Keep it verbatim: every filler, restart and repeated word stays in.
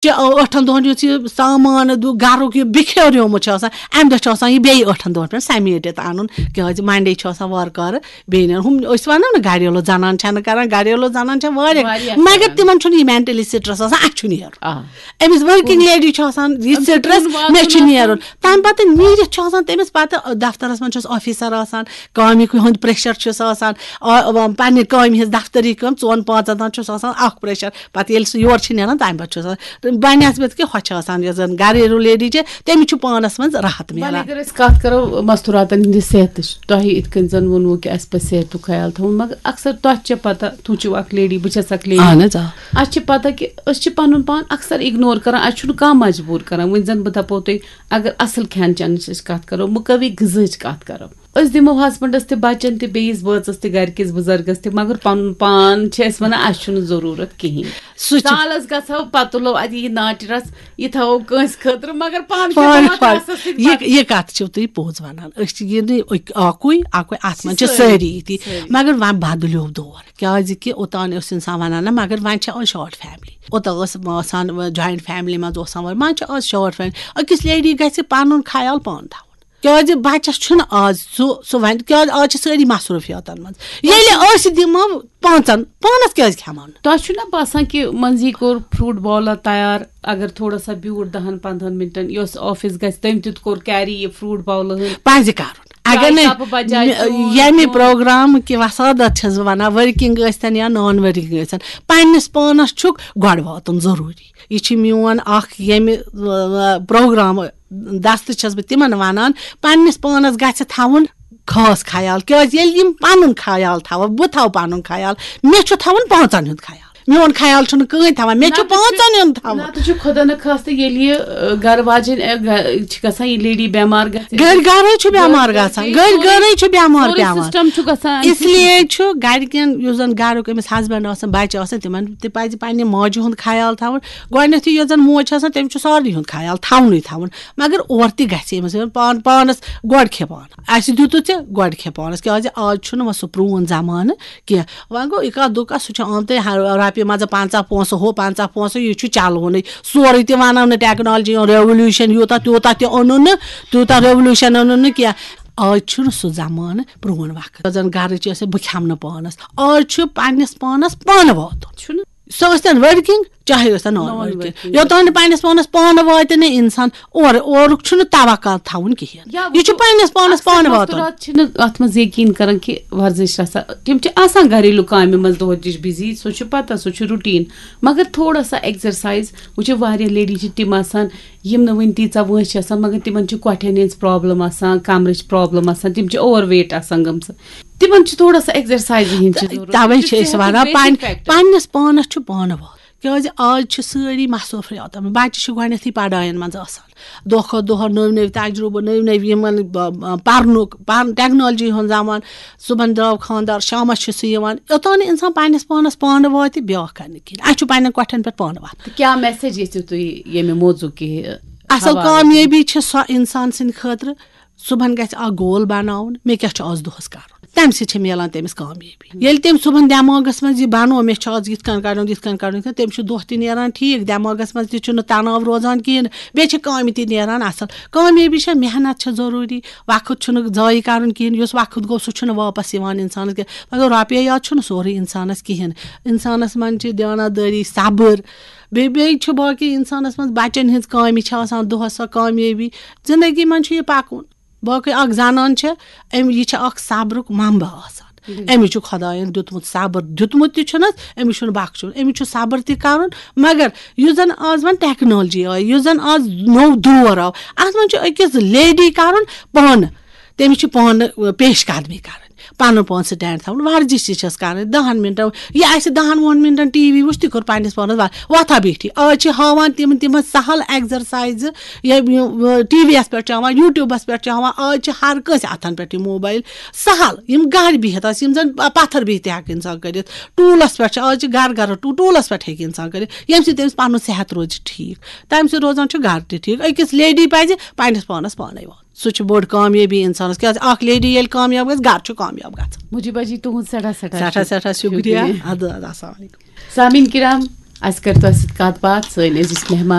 چھِ ٲٹھن دۄہن یُس یہِ سامان دُ-، گرُک یہِ بِکھیوریومُت چھُ آسان، اَمہِ دۄہ چھُ آسان یہِ بیٚیہِ ٲٹھن دۄہن پٮ۪ٹھ سمیٹِتھ اَنُن، کیازِ Monday چھُ آسان وارٕ کارٕ بیٚیہِ نیرُن۔ ہُم أسۍ وَنو نہٕ گریلوٗ زنان چھَنہٕ کران، گریلوٗ زنان چھےٚ واریاہ، واریاہ مگر کران۔ تِمن چھُنہٕ یہِ mentally stress آسان، اَسہِ چھُ نیرُن۔ آ۔ أمِس working lady چھُ آسان یہِ أمِس چھُ stress، کُن واتُن مےٚ چھُ آسان۔ نیرُن۔ تَمہِ پَتہٕ نیٖرِتھ چھُ آسان تٔمِس پَتہٕ دفترَس منٛز چھُس officer آسان، کامہِ ہُنٛد pressure چھُس آسان، آ، آ، پننہِ کامہِ ہٕنٛز دفتری کٲم ژۄن پانٛژَن تام چھُس آسان اَکھ pressure۔ پَتہٕ ییٚلہِ سُہ یورٕ چھِ نیران، تَمہِ پَتہٕ چھُ آسان بنسبت کہِ ہۄ چھِ آسان، یۄس زَن گریلوٗ lady چھِ، تٔمِس چھُ پانَس منٛز راحت وۄنۍ میلان۔ اگر أسۍ کَتھ کَرو مستوٗراتَن ہِنٛدِ صحتٕچ، تۄہہِ یِتھ کٔنۍ زَن ووٚنوُ کہِ اَسہِ پَزِ صحتُک خیال تھاوُن، مگر اکثر تۄہہِ چھےٚ پَتہ، تُہۍ چھِو اَکھ lady، بہٕ چھَس اَکھ lady۔ اہن حظ، آ۔ اَسہِ چھِ پَتہ کہِ أسۍ چھِ پَنُن پان اکثر ignore کَران، اَسہِ چھُنہٕ کانٛہہ مجبوٗر کَران۔ وۄنۍ زَن بہٕ دَپو تۄہہِ، اگر اَصٕل کھٮ۪ن چٮ۪نٕچ أسۍ کَتھ کَرو، مُقوی غذاہٕچ کَتھ کَرو، أسۍ دِمو husbandس تہِ، بَچَن تہِ، بیٚیِس بٲژَس تہِ، گَرِکِس بُزرگَس تہِ، مگر پَنُن پان چھِ أسۍ وَنان، اَسہِ چھُنہٕ ضروٗرت کِہیٖنۍ۔ سُہ چھُ سالَس گژھو، پَتہٕ تُلو اَتہِ یہِ ناٹہِ رَس، یہِ تھاوو کٲنٛسہِ خٲطرٕ، مگر پانہٕ کھٮ۪مو پانہٕ، اَتھ پانہٕ۔ رَسَس سۭتۍ یہِ، بَتہٕ۔ یہِ کَتھ چھِو تُہۍ پوٚز وَنان۔ أسۍ چھِ یہِ نہٕ أکۍ-، اَکُے، اَکُے، اَتھ منٛز چھِ سٲری، سٲری یِتی۔ سٲری۔ مگر وۄنۍ بدلیو دور۔ کیٛازِ کہِ اوٚتام اوس اِنسان وَنان، نہ، مگر وۄنۍ چھِ آز short family۔ اوٚتام ٲس آسان joint family منٛز اوس آسان، وۄنۍ چھِ آز short family۔ أکِس lady گژھِ پَنُن خیال پانہٕ تھاوُن۔ کیٛازِ بَچَس چھُنہٕ آز سُہ، سُہ وَنہِ، کیٛازِ آز چھِ سٲری مصروٗفیاتَن منٛز۔ ییٚلہِ أسۍ دِمو پانٛژَن، پانَس کیٛازِ کھٮ۪مو نہٕ؟ تۄہہِ چھُو نا باسان کہِ منٛزی کوٚر فروٹ باولا تیار، اگر تھوڑا سا بیوٗٹھ دَہَن پنٛدہَن مِنٹَن، یۄس office گژھِ، تٔمۍ تہِ کوٚر carry یہِ فروٹ باولا ہٕنٛز؟ پَزِ کَرُن۔ اگر چایہِ نہٕ کَپہٕ بجایہِ مےٚ-، چوٗن ییٚمہِ چوٗن۔ پروگرام کہِ وسادت چھَس بہٕ وَنان، working ٲسۍتَن یا non working ٲسۍتَن، پنٛنِس پانَس چھُکھ گۄڈٕ واتُن ضروٗری۔ یہِ چھِ میون اَکھ ییٚمہِ، آ، پروگرام دستہٕ چھَس بہٕ تِمَن وَنان، پنٛنِس پانَس گژھِ تھاوُن خاص خیال، کیٛازِ ییٚلہِ یِم پَنُن خیال تھاوَن، بہٕ تھاوٕ پَنُن خیال، مےٚ چھُ تھاوُن پانٛژَن ہُنٛد خیال۔ میون خیال چھُنہٕ کٕہٕنۍ تھاوان، مےٚ چھُ نَتہٕ چھُ، پانٛژَن ہُنٛد تھاوُن۔ نَتہٕ چھُ خۄدا نخواستہٕ ییٚلہِ یہِ، آ، گَرٕ واجِنۍ، آ، گَ-، چھِ گژھان، یہِ lady بٮ۪مار گژھِ۔ گَرِ گَرَے چھُ بٮ۪مار گَرِ گژھان، گَرِ گَرَے چھُ بٮ۪مار سورُے پٮ۪وان۔ System چھُ گژھان اَمہِ سۭتۍ۔ اس لیے چھُ گَرِکٮ۪ن، یُس زَن گَرُک أمِس husband آسان، بَچہِ آسان، تِمَن تہِ پَزِ پنٛنہِ ماجہِ ہُنٛد خیال تھاوُن۔ گۄڈٕنٮ۪تھٕے یۄس زَن موج چھِ آسان، تٔمِس چھُ سارنٕے ہُنٛد خیال تھاونُے تھاوُن، مگر اورٕ تہِ گژھِ أمِس پان-، پانَس گۄڈٕ کھے پانہٕ۔ اَسہِ دیُتُے ژےٚ، گۄڈٕ کھے پانَس، کیٛازِ آز چھُنہٕ وۄنۍ سُہ پرٛون زمانہٕ کینٛہہ۔ وۄنۍ گوٚو یہِ کَتھ دُکھ، سُہ چھُ آمتُے ہر-، رۄپیہِ منٛزٕ پنٛژاہ پونٛسہٕ ہُہ، پنٛژاہ پونٛسہٕ یہِ چھُ چَلوُنٕے۔ سورُے تہِ وَنو نہٕ technology ہُنٛد revolution، یوٗتاہ تیوٗتاہ تہِ اوٚنُن نہٕ، تیوٗتاہ revolution اوٚنُن نہٕ کینٛہہ۔ آز چھُنہٕ سُہ زمانہٕ پرٛون وقت۔ زَن گَرٕچ ٲس، بہٕ کھٮ۪مہٕ نہٕ پانَس۔ آز چھُ پنٛنِس پانَس پانہٕ واتُن۔ چھُنہٕ؟ سۄ ٲسۍتَن working، چاہے ٲسۍتَن non non working۔ Working۔ یوٚتام نہٕ پنٛنِس پانَس پانہٕ واتہِ نہٕ اِنسان، اورٕ، اورُک چھُنہٕ توقع تھاوُن کِہیٖنۍ۔ یا یہِ چھُ وۄنۍ پنٛنِس پانَس اکثر پانہٕ واتُن۔ مستوٗرات چھِنہٕ اَتھ منٛز یقیٖن کران کہِ ورزش چھِ آسان، تِم چھِ آسان گھریلوٗ کامہِ منٛز دۄہَس دِش busy، سُہ چھُ پَتہ، سُہ چھُ routine، مگر تھوڑا سا exercise، وۄنۍ چھِ واریاہ lady چھِ تِم آسان، یِم نہٕ وٕنہِ تیٖژاہ وٲنٛسہِ چھِ آسان، مگر تِمَن چھِ کۄٹھٮ۪ن ہِنٛز problem آسان، کمرٕچ problem آسان، تِم چھِ overweight آسان گٔمژٕ، تِمَن چھِ تھوڑا سا exercise ہِنٛز چھِ ضروٗرت۔ تَوَے یہِ چھِ چھِ أسۍ صحتُک وَنان، basic پنٛنہِ، factor۔ پنٛنِس پانَس چھُ پانہٕ واتُن۔ کیٛازِ آز چھِ سٲری مصروٗفیات، بَچہِ چھِ گۄڈٕنٮ۪تھٕے پَڑایَن منٛز آسان، دۄہ کھۄتہٕ دۄہ نٔوۍ نٔوۍ تجرُبہٕ، نٔوۍ نٔوۍ یِمَن، ب-، ب-، پَرنُک، پَرُن، technology ہُنٛد زمانہٕ۔ صُبحَن درٛاو خانٛدار، شامَس چھُ سُہ یِوان۔ یوٚتام نہٕ اِنسان پنٛنِس پانَس پانہٕ واتہِ، بیٛاکھ کَرِ نہٕ کِہیٖنۍ۔ اَسہِ چھُ پنٛنٮ۪ن کۄٹھٮ۪ن پٮ۪ٹھ پانہٕ واتُن۔ تہٕ کیٛاہ message یژھِو تُہۍ ییٚمہِ موضوع کہِ اَصٕل حوالہٕ؟ کامیٲبی چھِ سۄ اِنسان سٕنٛدِ خٲطرٕ، صُبحَن گژھِ اَکھ goal بَناوُن، مےٚ کیٛاہ چھُ آز دۄہَس کَرُن۔ تَمہِ سۭتۍ چھِ میلان تٔمِس کامیٲبی۔ ییٚلہِ تٔمۍ صُبحَن دٮ۪ماغَس منٛز یہِ بَنوو، مےٚ چھُ آز یِتھ کٔنۍ کَرُن، یِتھ کٔنۍ کَرُن، یِتھ کٔنۍ، تٔمِس چھُ دۄہ تہِ نیران ٹھیٖک، دٮ۪ماغَس منٛز تہِ چھُنہٕ تَناو روزان کِہیٖنۍ، بیٚیہِ چھِ کامہِ تہِ نیران اَصٕل۔ کامیٲبی چھےٚ محنت چھےٚ ضروٗری، وقت چھُنہٕ ضایع کَرُن کِہیٖنۍ، یُس وقت گوٚو سُہ چھُنہٕ واپَس یِوان اِنسانَس کینٛہہ۔ مگر رۄپیہِ یوت چھُنہٕ سورُے اِنسانَس کِہیٖنۍ، اِنسانَس منٛز چھِ دیانت دٲری، صبر، بیٚیہِ، بیٚیہِ چھُ باقٕے اِنسانَس منٛز بَچَن ہِنٛز کامہِ چھِ آسان دۄہَس سۄ کامیٲبی، زندگی منٛز چھُ یہِ پَکُن۔ باقٕے اَکھ زنان چھےٚ، أمۍ، یہِ چھےٚ اَکھ صبرُک منبع آسان۔ بِلکُل۔ أمِس چھُ خۄدایَن دیُتمُت صبر، دیُتمُت تہِ چھُنَس، أمِس چھُنہٕ بخشُن، أمِس چھُ صبر تہِ کَرُن۔ مگر یُس زَن آز وۄنۍ technology آیہِ، یُس زَن آز نوٚو دور آو، اَتھ منٛز چھُ أکِس lady کَرُن پانہٕ، تٔمِس چھِ پانہٕ پیش قدمی کَرٕنۍ، پَنُن پان stand تھاوُن، ورزش تہِ چھَس کَرٕنۍ دَہَن مِنٹَن۔ یہِ آسہِ دَہَن وُہَن مِنٹَن ٹی وی وٕچھ، تہِ کوٚر پنٛنِس پانَس وا-، وۄتھا بیٖٹھی۔ آز چھِ ہاوان تِم، تِمَن سَہَل exercise، یہِ، یہِ، ٹی وی یَس پٮ۪ٹھ چھِ ہاوان، YouTubeَس پٮ۪ٹھ چھِ ہاوان، آز چھِ ہر کٲنٛسہِ اَتھَن پٮ۪ٹھ یہِ موبایل۔ سَہَل، یِم گَرِ بِہِتھ آسہِ، یِم زَن پَتھَر بِہِتھ تہِ ہٮ۪کہِ اِنسان کٔرِتھ۔ ٹوٗلَس پٮ۪ٹھ چھِ، آز چھِ گَرٕ گَرٕ ٹوٗ-، ٹوٗلَس پٮ۪ٹھ ہیٚکہِ اِنسان کٔرِتھ، ییٚمہِ سۭتۍ تٔمِس پَنُن صحت روزِ ٹھیٖک۔ تَمہِ سۭتۍ روزان چھُ گَرٕ تہِ ٹھیٖک۔ أکِس lady پَزِ پنٛنِس پانَس پانَے واتُن۔ سُہ چھُ بوٚڑ کامیٲبی اِنسانَس، کیٛازِ اَکھ lady ییٚلہِ کامیاب گژھِ، گَرٕ چھُ کامیاب گژھان۔ مُجیٖبہ جی، تُہُنٛد سٮ۪ٹھاہ، سٮ۪ٹھاہ سٮ۪ٹھاہ، سٮ۪ٹھاہ شُکریہ۔ شُکریہ۔ اَدٕ حظ، السلام علیکُم۔ سامعیٖن کِرام، اَسہِ کٔر تۄہہِ سۭتۍ کَتھ باتھ، سٲنۍ عزیز مہمان۔